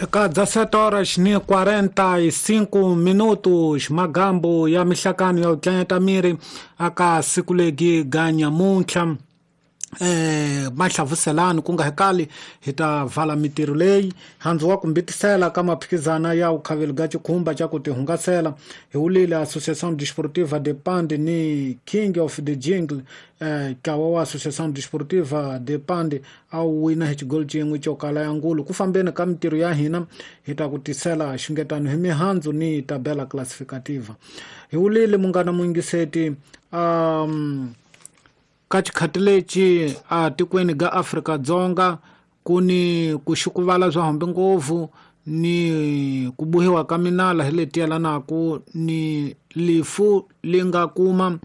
Eka 17 horas ni 45 minutos magambo ya mihlakano ya ku tlanyeta miri aka siku legi ga nyamuntlha mahlavuselani ku nga hekali hi ta vala mitirho leyi handzu wa kumbitisela ka maphikizana ya vukhaveli ga xikhumba xa ku tihungasela hi wulile Associação Desportiva de Pande ni King of the Jingle. Ntlawa wa Associação Desportiva de Pande a wu wina hi xigolo xin'we xo kala ya ngulu. Ku fambeni ka mitirho ya hina hi ta ku tisela xungetano hi mihandzu ni tabela classificativa. Hi wulile munghana muyingiseti ka xikhati lexi a tikweni ga Afrika-Dzonga ku ni ku xukuvala swa hombe ngopfu ni ku bohiwa ka minala hi leti yelanaka ni lifu li nga kuma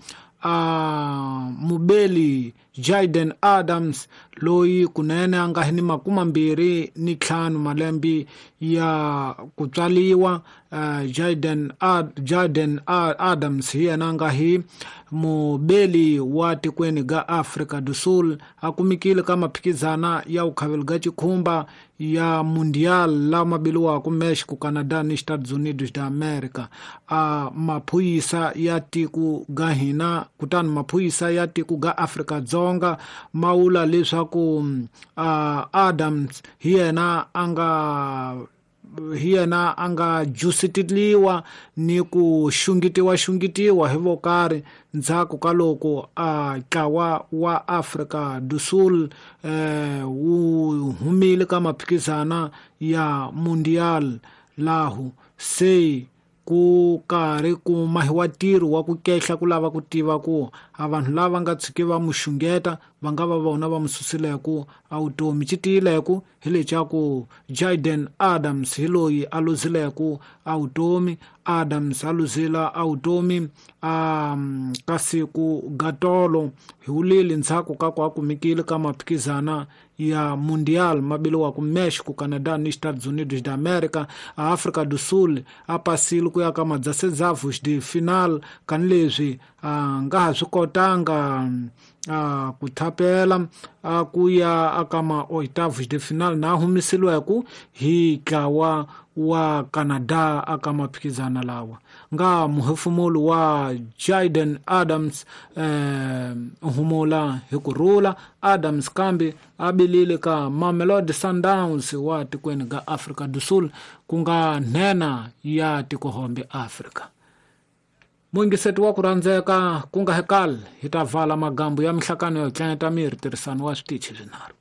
a mubeli Jayden Adams loyi kunene a nga hi ni 25 malembe ya ku tswaliwa. Jayden Adams hi yena a nga hi mubeli wa tikweni ga Afrika do Sul, a kumekile ka maphikizana ya vukhaveli ga xikhumba ya Mundial lama biliwaka Mexico, Canada ni Estados Unidos da America. A maphorisa ya tiko ga hina kutani maphorisa ya tiko ga Afrika-Dzonga ma vula leswaku Adams hi yena a nga jusitiliwa ni ku xungitiwa hi vokarhi ndzhaku ka loko a ntlawa wa Afrika do Sul wu humile ka maphikizana ya Mundial lahu se ku karhi ku mahiwa ntirho wa ku kehla ku lava ku tiva ku a vanhu lava nga tshuki va mu xungeta va nga va vona va mu susileku a vutomi. Xi tiyileku hi leswaku Jayden Adams hi loyi a luzileku a vutomi. Adams a luzila a vutomi a ka siku ga tolo hi wulile ndzhaku ka ku a kumekile ka maphikizana ya Mundial mabiliwaka Mexico, Canada ni Estados Unidos da America. A Afrika do Sul a pasile ku ya ka madzasedzavos de final kanileswi a nga ha swi kotanga a ku thapela a ku ya aka ma oitavos de final na humesiliweku hi ntlawa wa Canada aka maphikizana lawa. Nga muhefumuli wa Jayden Adams humula hi ku rhula. Adams kambe a bilile ka Mamelodi Sundowns wa tikweni ga Afrika do Sul ku nga nhenha ya tikohombe Afrika. Muyingiseti wa ku rhandzeka ku nga hekali hi ta vala magambo ya mihlakano yo tlanyeta miri tirhisano wa switichi swinharhu.